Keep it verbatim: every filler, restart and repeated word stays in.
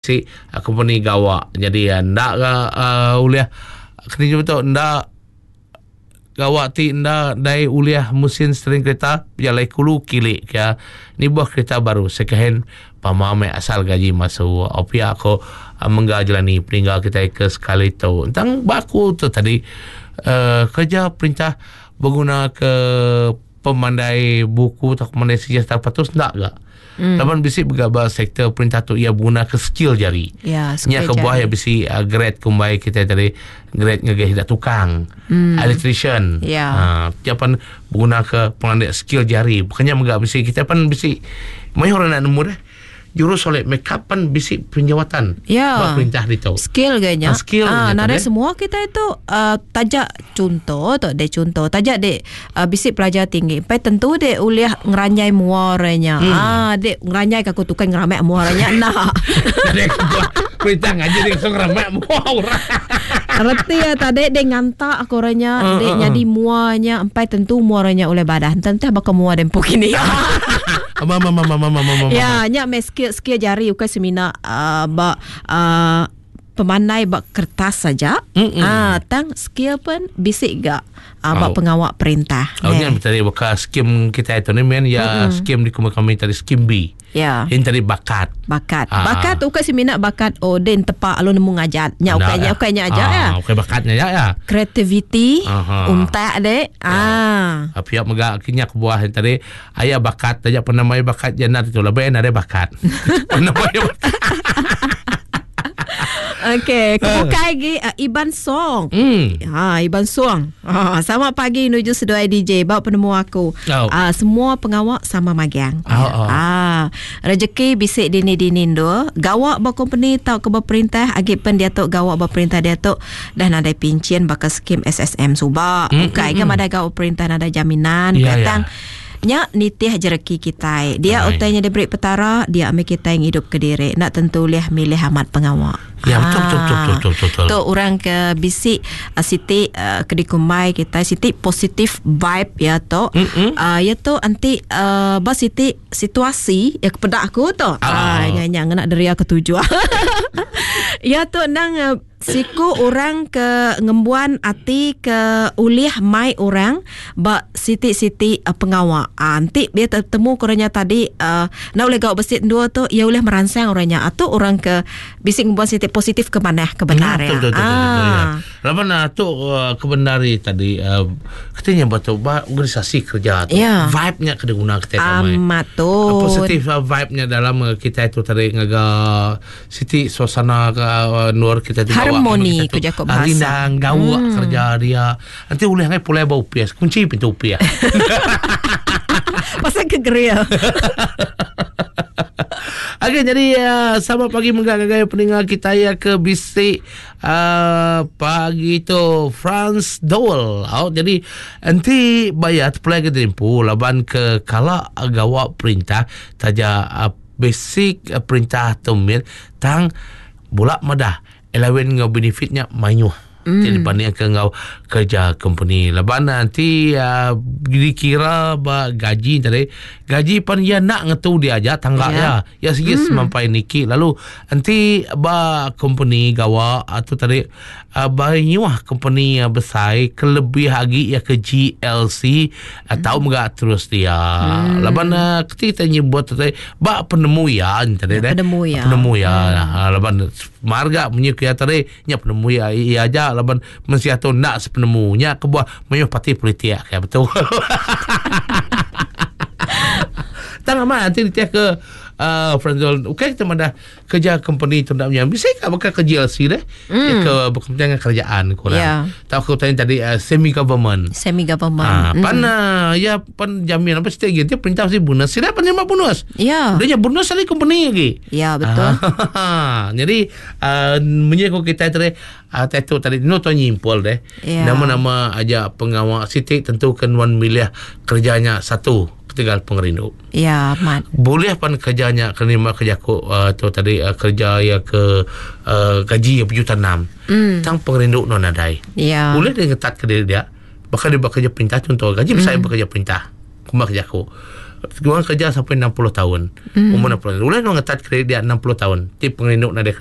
Si company gawa jadi enda ga uh, ulih kena tu enda gawa ti enda dai ulih mesin steering kereta berjalai kulu kili ke ni buah kereta baru second hand pama me asal gaji masuk opia aku mengga jalani peninggal kita ke sekali tu tentang baku tu tadi uh, kerja perintah berguna ke pemandai buku atau pemandai sejarah patut ndak gak. Hmm. Laban bisi begabar sektor perintah tu ia guna ke skill jari. Ya, skill. Nya kebuah ya bisi uh, grade kumbai kita tadi grade ngegeh dak tukang. Hmm. Electrician. Ya. Ha, dia pan guna ke pemandai skill jari. Bukannya megak bisi kita pan bisi mayu orang nak nemu dah. Jurus solid makeup pan bisi penjawatan. Ya. Perintah itu. Skill ganya. Ha, skill ah, nada semua kita itu uh, tajak contoh atau de contoh tajak de uh, bisi pelajar tinggi. Pai tentu de uliah ngeranyai muaranya. Hmm. Ah, de ngeranyai ka aku tukang ngeramek muaranya nah. Dek perintah ngaji de langsung ngeramek muara. Reti ya tadi de ngantak aku orangnya, uh, de uh, uh. nyadi muanya empai tentu muaranya oleh badah. Entah bakal mua dempu kini. Mama mama mama mama mama. Ya, nya me skill skill jari ukai semina uh, ba uh, pemandai ba kertas saja. Ah, tang skill pun bisik gak uh, ba Oh. pengawak perintah. Oh, ni tadi bakal skim kita itu ni men ya skim di kami tadi skim B. Ya. Ini tadi bakat. Bakat. Ah. Bakat tu ukai semina bakat oh den tepak lu nemu ngajat. Nya ukai nya ukai nya aja ah, ya. Ukai bakatnya ya ya. Creativity, Aha. untak dek. Ah. Pihak megak kinyak buah yang tadi ayah bakat tajak penamai bakat jana tu lebih ada bakat. Penamai bakat. Okey, kebukai lagi uh, Iban Song. Hmm. Ha, Iban Song. Ha, selamat pagi menuju seduai D J. Bawa penemu aku. Oh. Ah, semua pengawak sama magang. Oh, oh. Ah, rezeki bisik dini-dini tu. Gawak ba company tau ke berperintah, agi pen dia tu gawak berperintah dia tu dah nadai pincin bakal skim S S M subak. Mm, Bukai mm, ke mm. madai gawak perintah nadai jaminan. Ya, Ketang ya. Nya nitih jereki kita. Dia Hai. utainya diberi petara, dia ambil kita yang hidup ke diri. Nak tentu liah milih amat pengawak. Ya, betul, betul, betul, betul, betul, betul. Tu orang ke bisik uh, siti uh, ke dikumai kita siti positif vibe ya tu. Uh, ya tu anti uh, ba siti situasi ya kepada aku tu. Ah. Ah, nya nya ngena deria ketujuh. Ya tu nang uh, siku orang ke ngembuan ati ke ulih mai orang ba siti-siti uh, pengawak. Ah, nanti dia tertemu korangnya tadi uh, nak boleh gawak besit dua tu ia boleh merangsang orangnya atau orang ke bisik ngembuan siti positif ke mana kebenar ya. Betul, betul, betul, betul, ya. Ah. Laban uh, tu uh, kebenari tadi uh, katanya betul ba organisasi kerja tu. Ya. Vibe-nya kena guna kita ramai. Amat tu. Positif uh, vibe-nya dalam uh, kita itu tadi ngaga siti suasana ke uh, nur kita tu Harmoni kita tu, ku jakop ah, bahasa. Rindang gawak hmm. kerja dia. Nanti boleh ngai pulai bau pias, kunci pintu pias. Pasal kegeria. Okey, jadi uh, selamat pagi menggagai pendengar kita ya ke bisik uh, pagi tu Franz Dole. Oh, jadi nanti bayar terpulai ke tempu laban ke kala gawak perintah taja uh, basic uh, perintah temil tang bulak madah elawin ngau benefitnya mayuh. Mm. Jadi banding ke ngau kerja company. Laban nanti uh, dikira ba gaji tadi gaji pan ya nak ngetu dia aja tangga Ya. ya. Ya sikit mm. sampai niki lalu nanti ba company gawa atau tadi uh, ba nyuah company uh, besar kelebih lagi ya ke G L C atau mm. megak terus dia. Mm. Laban uh, ketika nyebut tadi ba penemu ya tadi Ya, penemu ya. Penemu ya. Mm. Laban marga menyukai tadi nya penemu ya ya aja laban mensia tu nak sepenemunya kebuah menyuh parti politik ya betul. Tak amat nanti dia ke uh, Franzol. Okey kita mana kerja company tu nak punya. Bisa ke bakal ke G L C deh. Mm. Ya ke berkepentingan kerajaan kurang. Ya. Tak aku tanya tadi uh, semi government. Semi government. Ah, pan mm. ya pan jamin apa setiap gitu perintah mesti bonus. Sila penerima bonus. Ya. Dia bonus dari company lagi. Ya, betul. Ah, jadi uh, menyekuk kita tadi uh, tattoo tadi no to nyimpul deh. Ya. Nama-nama aja pengawal siti tentu kan wan milih kerjanya satu ketegal pengerindu. Ya, mat. Boleh pan kerjanya kena kerja aku uh, tu tadi uh, kerja ya ke uh, gaji yang juta enam. Mm. Tang pengerindu no nadai. Ya. Boleh dia ngetat ke diri dia. Bahkan dia bekerja perintah contoh gaji mm. saya bekerja perintah. Kumah kerja aku. Orang kerja sampai enam puluh tahun. Mm. Umur enam puluh tahun. Ulih nuan ngetat kredit dia enam puluh tahun. Ti pengerindu nadai